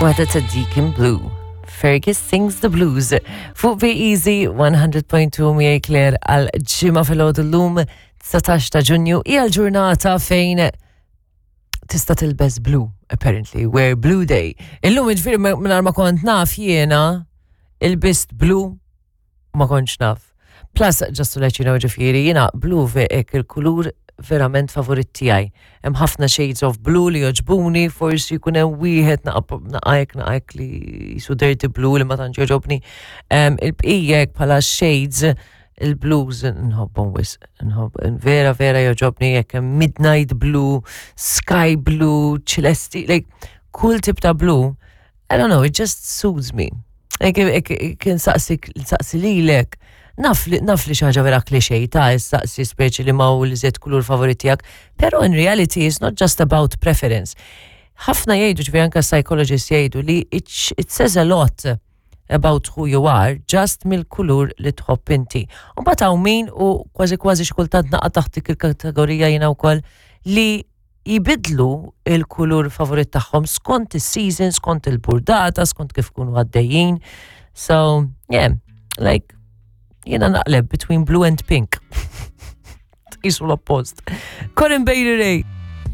Waħda ta' Deacon Blue. Fergus sings the blues. Fuq Be Easy 100.2 miegħi Claire għal ġimgħa filgħodu llum 19 ta' Ġunju hija l-ġurnata fejn tista' tilbes blue apparently, wear blue day. Illum ġifieri mingħajr ma kont naf jiena il-bist blue ma kontx naf. Plus, just to let you know ġifieri, jiena blu ek il-kulur verament favorit tiegħi. Hemm ħafna shades of blue li joġbuni, forsi jkun hemm wieħed naqajk naqajk li jisu dirty blue li ma tantx joġobni. Il-bqija bħala shades il-blues nħobbhom wisq, nħobb vera vera joġobni jekk hemm midnight blue, sky blue, ċelesti, like kull tip ta' blue I don't know, it just soothes me. Kien saqsi lilek, naf li naf li xaġa vera klixej ta' saqsi speċi li ma' u li zed kulur favorit tiegħek, pero in reality it's not just about preference. Ħafna jgħidu ġifieri anke psychologists jgħidu li it, it says a lot about who you are just mill-kulur li tħobb inti. U mbagħad hawn min u kważi kważi xi kultant naqa' taħt dik il-kategorija jiena wkoll li jbiddlu il-kulur favorit tagħhom skont is-season, skont il-burdata, skont kif kunu għaddejjin. So, yeah, like, jiena naqleb between blue and pink. Tqisu l-oppost. Corinne Bailey Ray.